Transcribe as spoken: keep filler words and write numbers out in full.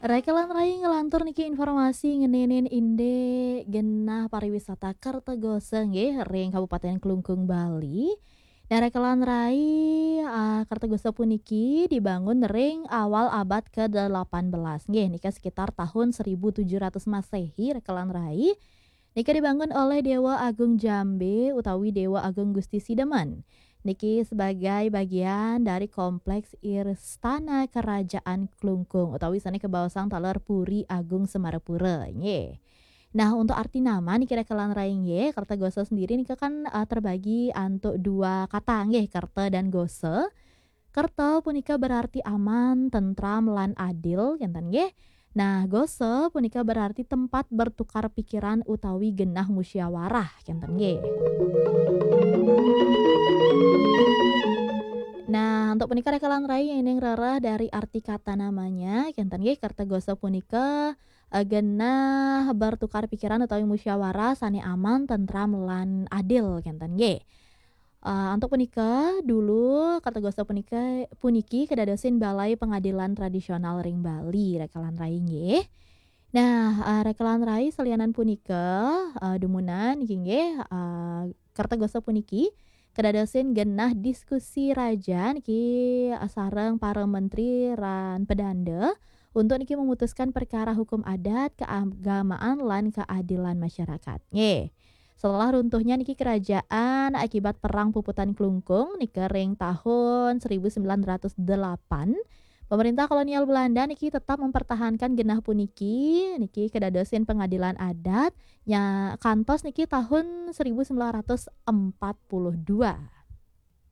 Rekelan rai ngelantur niki informasi ngeninin inde genah pariwisata Kertagasa nggih ring Kabupaten Klungkung, Bali. Nah, Rekelan rai, ah, Kertagasa puniki dibangun ring awal abad kedelapan belas nggih, nika sekitar tahun seribu tujuh ratus Masehi, Rekelan rai. Nika dibangun oleh Dewa Agung Jambe utawi Dewa Agung Gusti Sidemen. Niki sebagai bagian dari kompleks Istana Kerajaan Klungkung utawi sane kabaosang taler Puri Agung Semarapura, nggih. Nah, untuk arti nama niki Rekelan rai nggih, Kertagasa sendiri nika kan, eh, terbagi antuk dua kata nggih, kerta dan gasa. Kerta punika berarti aman, tentram, lan adil, kenten nggih. Nah, gasa punika berarti tempat bertukar pikiran utawi genah musyawarah, kenten nggih. Nah, untuk punika Rekelan rai yening rereh dari arti kata namanya, kenten nggih, Kertagasa punika, eh, genah bertukar pikiran utawi musyawarah sane aman, tentram, lan adil, kenten nggih. Eh, untuk punika, dulu Kertagasa punika, puniki kedadosin Balai Pengadilan Tradisional ring Bali, Rekelan rai nggih. Nah, eh, Rekelan rai salianan punika, eh, dumunan niki nggih, eh, Kertagasa puniki kedadosin genah diskusi raja niki, eh, sareng para menteri lan pedanda untuk niki memutuskan perkara hukum adat, keagamaan, lan keadilan masyarakat. Nggih. Setelah runtuhnya niki kerajaan akibat Perang Puputan Klungkung nika ring tahun seribu sembilan ratus delapan, pemerintah kolonial Belanda niki tetap mempertahankan genah puniki, niki kedadosin pengadilan adat nya kantos niki tahun seribu sembilan ratus empat puluh dua.